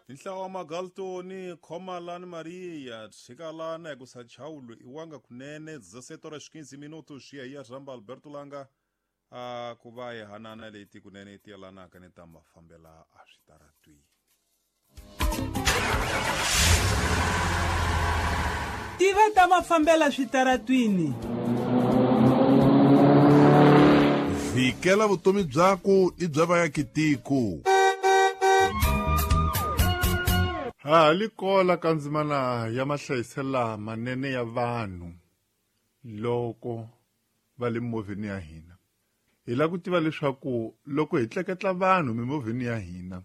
Nhlawa wa Magaltoni, Khomalani Maria, Tshikalana hikusa Chaulo i wanga kunene 17 horas 15 minutos ya ya Ramba Alberto Langa a ku va hi hanana leti kunene ti yelanaka ni ta mafambela a switaratwini. Tiva ta mafambela switaratwini. Vhikela vutomi byaku ni bya vayakitiko. Ha li kola ka ndzimana ya mahlayiselo lamanene ya vanhu loko va le mimovheni ya hina. Hi lava ku tiva leswaku loko hi tleketla vanhu mimovheni ya hina,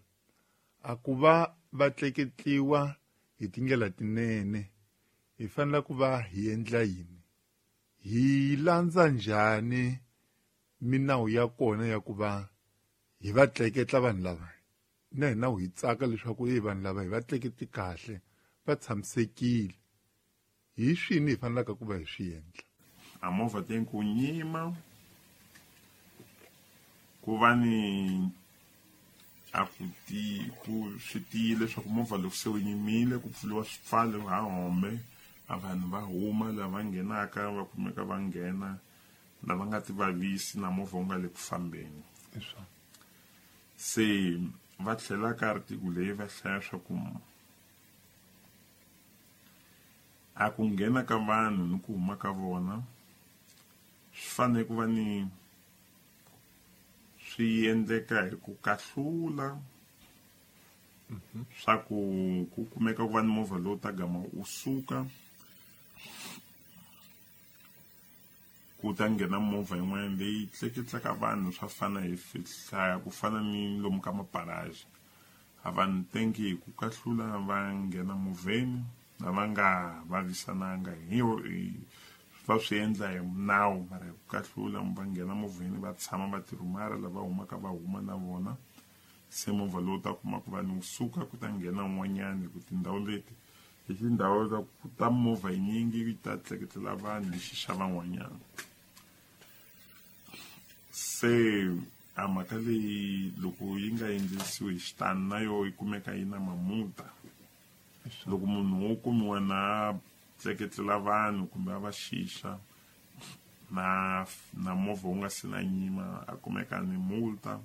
a ku va va tleketliwa hi tindlela tinene, hi fanele ku va hi endla yini? Hi landza njhani minawu ya kona ya ku va hi va tleketla vanhu lava? Na hina hi tsaka leswaku hey, vanhu lava hi va tleketli kahle, va tshamisekile. Hi swini hi fanelaka ku va hi swi endla? A movha tem ku nyima, ku va ni a ku ti ku swi tiyile leswaku movha loko se wu yimile ku pfuriwa swipfalo ha hombe, a vanhu va huma lava nghenaka va kumeka va nghena, lava nga ti vavisi na movha wu nga le ku fambeni. Se va tlhela ka article leyi va hlaya swa ku a ku nghena ka vanhu ni ku huma ka vona swi fanele ku va ni swi endleka hi ku kahlula swa ku ku kumeka ku va ni movha lowu ta gama wu suka ku ta nghena movha yin'wana leyi tleketlaka vanhu swa fana hi hlaya ku fana ni lomu ka maparaji. A vanhu tenki hi ku kahlula va nghena movheni na va nga vavisananga hi va swi endla hi nawu, mara hi ku kahlula va nghena movheni va tshama va tirhumara lava humaka va huma na vona. Se movha lowu ta kuma ku vanhu wu suka ku ta nghena un'wanyani hi ku tindhawu leti hi tindhawu ta ku ta movha yinyingi yi ta tleketlela vanhu hi xixa van'wanyana. Se a mhaka leyi loko yi nga endlisiwi hi xitani na yo yi kumeka yi na mamuta. Loko munhu wo kumiwa na tleketlela vanhu kumbe a va xixa na movha wu nga se na nyima a kumeka ni multa.